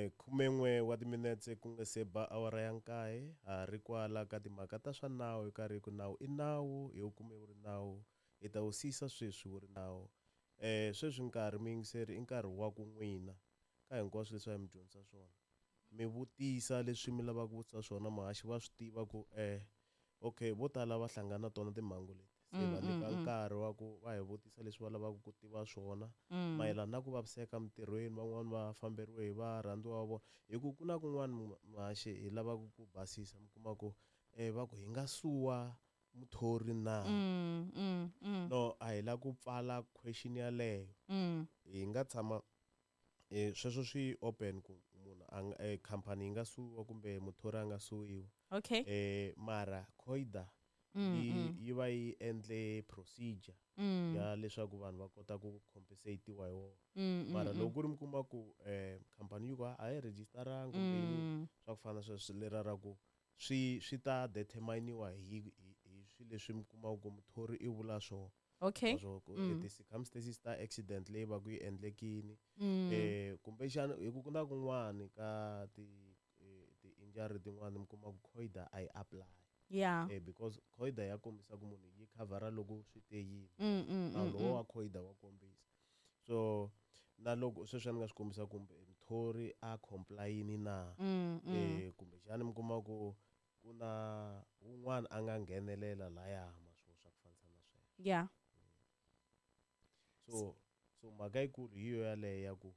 11 wa timinetse ku nga se ba awara ya nkaye, ha ri kwala ka timhaka ta swa nawu hi karhi ku nawu i nawu, hi wu kume wu ri nawu, hi ta wu siyisa sweswi wu ri nawu. Sweswi nkarhi muyingiseri i nkarhi wa ku n'wina ka hinkwaswo leswi a hi mi dyondzisa swona, mi vutisa leswi mi lavaka ku vutisa swona, muhaxi va swi tiva ku okay vo tala va hlangana na tona timhangu leti, se va nyika nkarhi wa ku va hi vutisa leswi va lavaka ku tiva swona mayelana na ku vaviseka emitirhweni, van'wani va famberiwe hi varhandziwa va vona, hi ku ku na kun'wana muhaxi hi lavaka ku basisa, mi kuma ku va ku hi nga suwa muthori na? No, a hi lava ku pfala question yaleyo. Hi nga tshama sweswo swi open ku munhu a nga khampani yi nga suwiwa kumbe muthori a nga suwiwa. Okay. Mara COIDA yi va yi endle procedure ya leswaku vanhu va kota ku compensatiwa hi wona. Mara loko ku ri mi kuma ku khampani yi ku a yi registeranga kumbe yini swa ku fana na sweswo, lera ra ku swi ta determiniwa hi swilo leswi mi kumaka ku muthori i vula swona. Okay. Leswaku ti-circumstances ta accident leyi va ku yi endlekini. Kumbexana hi ku ku na kun'wani ka ti-injury tin'wani mi kuma ku COIDA a yi apply. Yeah. Because COIDA ya kombisa ku munhu yi khavhara loko swi te yini. Nawu lowu wa COIDA wa kombisa. So na loko sweswi ni nga swi kombisa kumbe muthori a comply-ini na, kumbexana mi kuma ku ku na wun'wana a nga nghenelela laya maswo swa ku fanisa na sweswo. Yeah. So mhaka yikulu hi yo yaleyo ya ku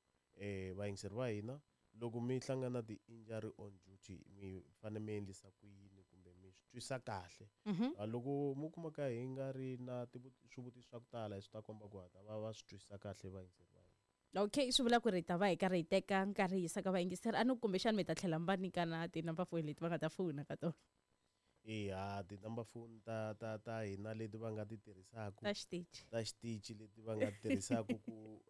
vayingiseri va hina loko mi hlangana ti-injury on duty mi fanele mi endlisa ku yini kumbe mi swi twisa kahle. Loko mi kuma ka hi nga ri na swivutiso swa ku tala swi ta komba ku hata va swi twisisa kahle vayingiseri va hina. Okay, swi vula ku ri ta va hi karhi hi teka nkarhi hi yisa ka vayingiseri, a ni kumbexana mi ta tlhela mi va nyika na ti-number phone leti va nga ta fona ka tona. Eya, ti-number phone ta hina leti va nga ti tirhisaka. Ta xitichi. Ta xitichi leti va nga tirhisaka ku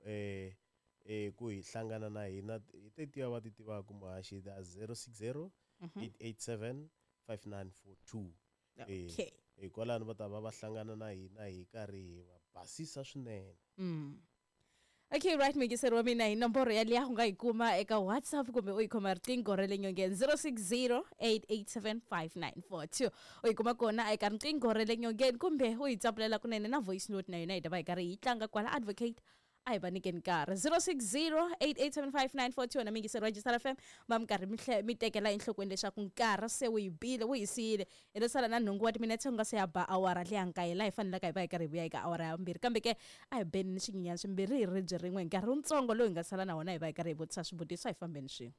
ku hi hlangana na hina hi tetiya va ti tivaka muhaxi ta 060 887 5942. Okay. Hikwalano va ta va va hlangana na hina hi karhi hi va basisa swinene. Okay, right, muyingiseri wa mina hi nomboro yaliya u nga yi kuma eka WhatsApp kumbe u yi khoma riqingho ra le nyongeni 0608875942. U yi kuma kona eka riqingho ra le nyongeni kumbe u yi tsapulela kunene na voice note na yona hi ta va hi karhi hi tlanga kwala advocate a hi va nyikeni nkarhi 0608875942. Na muyingiseri wa Jisara FM va mi karhi mi tekela enhlokweni leswaku nkarhi se wu yi bile wu hi siyile, hi lo sala na nhungu wa timinetse ku nga se ya ba awara leya nkaye laha hi fanelaka hi va hi karhi hi vuya eka awara ya vumbirhi, kambe ke a hi beni ni swinyenyana swimbirhi hi ribye rin'we hi nkarhi wutsongo lowu hi nga sala na wona hi va hi karhi hi vutisa swivutiso, a hi fambeni swin'we.